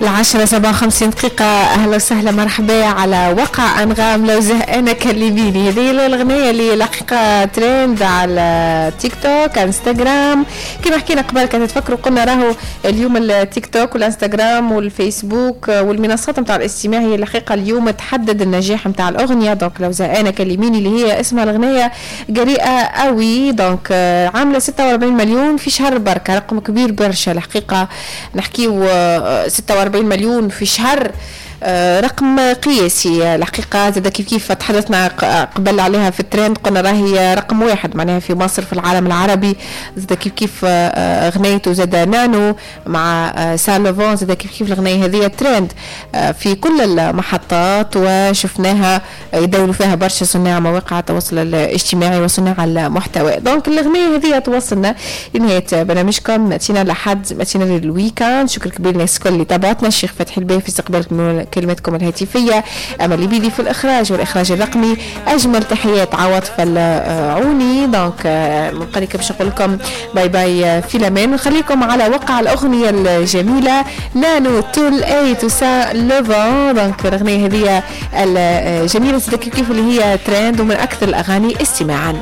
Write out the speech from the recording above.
10:57، أهلا وسهلا، مرحبا على وقع أنغام. لو زهقانة كلميني، هذه الأغنية اللي الحقيقة ترند على تيك توك، انستغرام. كما حكينا قبل كان تفكروا، قلنا راهو اليوم التيك توك والانستغرام والفيسبوك والمنصات نتاع الاستماع هي الحقيقة اليوم تحدد النجاح نتاع الأغنية. donc لو زهقانة كلميني اللي هي اسمها الأغنية جريئة قوي، donc عاملة 46 مليون في شهر بركة، رقم كبير برشا الحقيقة. نحكيو 46 مليون في شهر، رقم قياسي الحقيقة. زاد كيف كيف تحدثنا قبل عليها في الترند، قلنا راهي رقم واحد معناها في مصر، في العالم العربي. زاد كيف كيف غنيته زاد نانو مع سالوفون، زاد كيف كيف الغنية هذه ترند في كل المحطات، وشفناها يدوروا فيها برشا صناع مواقع التواصل الاجتماعي وصناع المحتوى. donc الغنية هذه توصلنا لنهاية برنامجكم ماتينا لحد، ماتينا لل week-end. شكر كبير للناس الكل اللي تابعتنا، الشيخ فتحي الباهي في استقبال كلمتكم الهاتفية، أمل بيدي في الإخراج والإخراج الرقمي، أجمل تحيات عواطف العوني. donc نبقى باش نقول لكم bye bye، في الأمان، ونخليكم على وقع الأغنية الجميلة نانو تول اي توسا لوفون. donc الأغنية هذه الجميلة كيف اللي هي ترند ومن أكثر الأغاني استماعا.